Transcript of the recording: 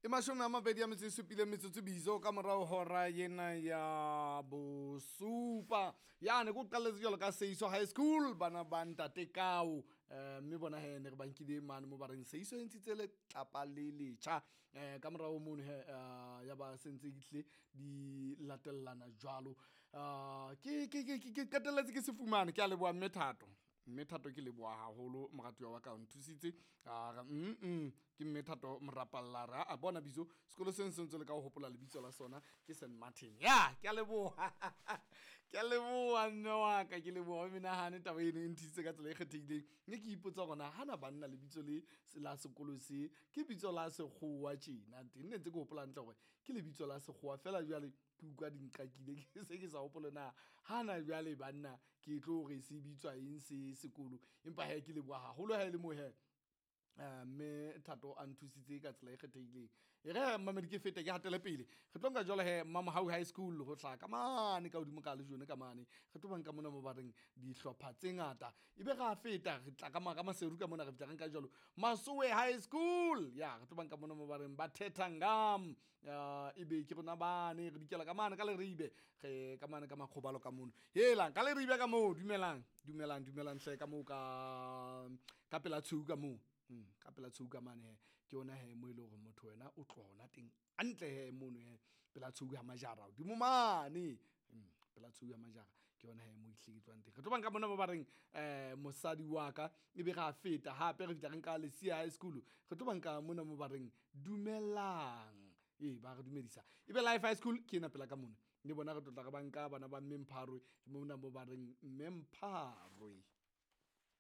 E 27 metsotso bizo ka morao hora ena ya bosupa. Yane ko qalletse jwalo ka Seiso High School, bana ba ntate Kao. Mme bona he ne re ba nkile mane mo ba reng Seiso e ntshitse letlapa le letjha. Ka morao mono he ya ba sentse ehlile di latellana jwalo. Ke qetelletse ke se fumane, ke a leboha mme Thato. Mme Thato ke leboha haholo moratuwa wa ka o nthusitse. A re ke mme Thato Morapalla re a bona bitso sekolo seno se ntse le ka ho hopola lebitso la sona ke St Martin. Ya, ke a leboha. Ke a leboha mme wa ka, ke leboha o menahane taba eno e nthusitse ka tsela e kgethehileng. Mme ke ipotsa hore na hana banna lebitso le la sekolo se ke bitso la sekgowa tjena. Teng ne ntse ke hopola hantle hore ke lebitso la sekgowa feela jwale ke utlwa di nqakile ke se ke sa hopole na hana jwale banna ke tlo re se bitswa eng se sekolo. Empa hee ke leboha haholo ha e le mo hee mme Thato a nthusitse ka tsela e kgethehileng. E re mmamedi ke fete ke hatele pele. Re tlo nka jwalo he Mamohau High School ho hlaha ka mane ka hodimo ka lejone ka mane. Re tlo ba nka mona mo ba reng dihlopha tse ngata. Ebe ra feta re tla ka Maseru ka mona re fihla re nka jwalo Masowe High School. Ya re tlo ba nka mona mo ba reng ba Thethangam. Ebe ke rona bane re dikela ka mane ka Leribe. Re ka mane ka Makgobalo ka mono. Helang ka Leribe ka moo dumelang dumelang dumelang hle ka moo ka pela tshweu ka moo. Ka pela tshweu ka mane he ke yona he mo e leng hore motho wena o tloha hona teng hantle he mono he pela tshweu ya majara hodimo mane. Pela tshweu ya majara ke yona he mo ehlile ke tlohang teng. Re tlo ba nka mona mo ba reng mosadi wa ka ebe ra feta hape re fihla re nka Lesia High School. Re tlo ba nka mona mo ba reng dumelang. Ee ba re dumedisa. Ebe Life High School ke ena pela ka mona. Le bona re tlo tla re ba nka bana ba Mme Mpharwe mona mo ba reng Mme Mpharwe.